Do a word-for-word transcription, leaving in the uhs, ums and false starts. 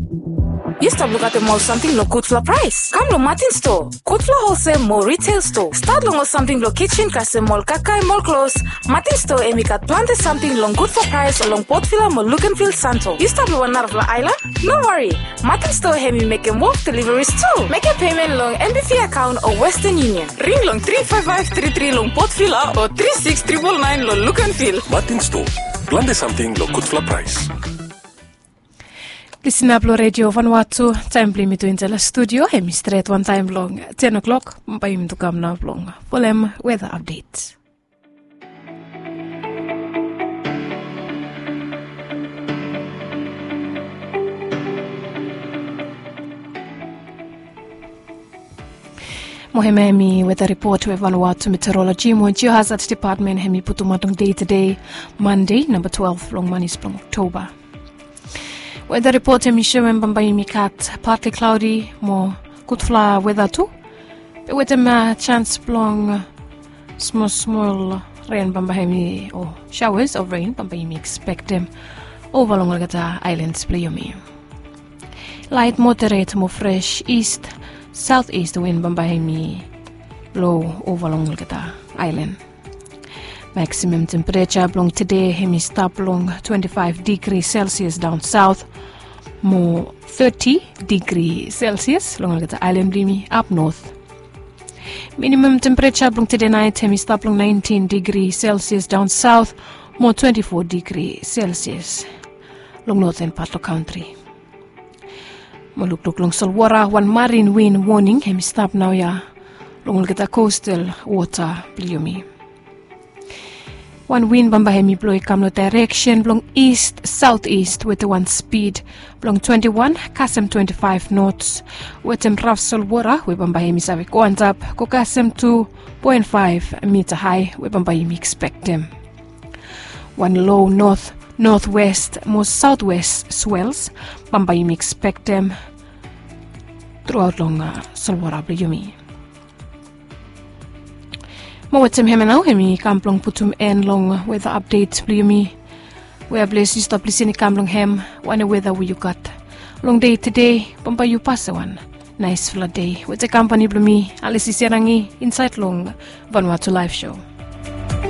Yu stap lukaotem ol samting long gudfala praes? Kam long Martin Store, gudfala holsel mo retail store. Stat long ol samting blong kitchen kasem ol kakae mo ol klos. Martin Store hem i gat plante samting long gudfala praes long Port Vila mo Luganville, Santo. Yu stap long wan narafala aelan? No wari. Martin Store hem i mekem wok deliveries tu. Mekem payment long M B V account o Western Union. Ring long three five five three three long Port Vila o three six triple nine long Luganville. Martin Store, plante samting long gudfala praes. Lisna blong Redio Vanuatu, taem blong yumi tu insaed long studio hem i stret wantaem long ten o'clock. Bae yumi tu kam nao blong folem weta apdet. Mo hemia hemi weta ripot we Vanuatu Meteorology mo Geohazard Department hemi putumaot long dei tede, Mande, namba twelve long manis blong Oktoba. Weta ripot hemi soem bambae yumi gat partly cloudy mo gudfala weta tu. Be wetem jans blong smol smol ren bambae hemi o showers of rain bambae yumi ekspektem ova long olgeta aelans blong yumi. Laet moderet mo fres ist saot ist win bambae hemi blo ova long olgeta aelan. Maksimam tempereja blong tede hemi stap long twante faef digri Celsius daon saot mo teti digri Celsius long olgeta aelan blong yumi ap not. Minimam tempereja blong tede naet hemi stap long naentin digri Celsius daon saot mo twante fo digri Celsius long noten pat long kantri. Mo lukluk long solwota, wan marin win woning hemi stap naoia long olgeta kostal wota blong yumi. Wan win bambae hemi blo i kam long daereksen blong ist saot ist wetem wan spid blong twante wan kasem twante faef nots, wetem raf solwota we bambae hemi save go antap go kasem tu poen faef mita hae we bambae yumi ekspektem. Wan lo not notwest mo saotwest swels bambae yumi ekspektem truaot long solwota blong yumi. Mo wetem hemia nao hemi kam blong putum en long weta apdet blong yumi. We bles yu stap lisin i kam long hem, wanem weta we yu gat long dei tede? Bambae yu pasem wan naesfala dei wetem kampani blong mi, Alisi Serangi, insaed long Vanuatu Laef Sho.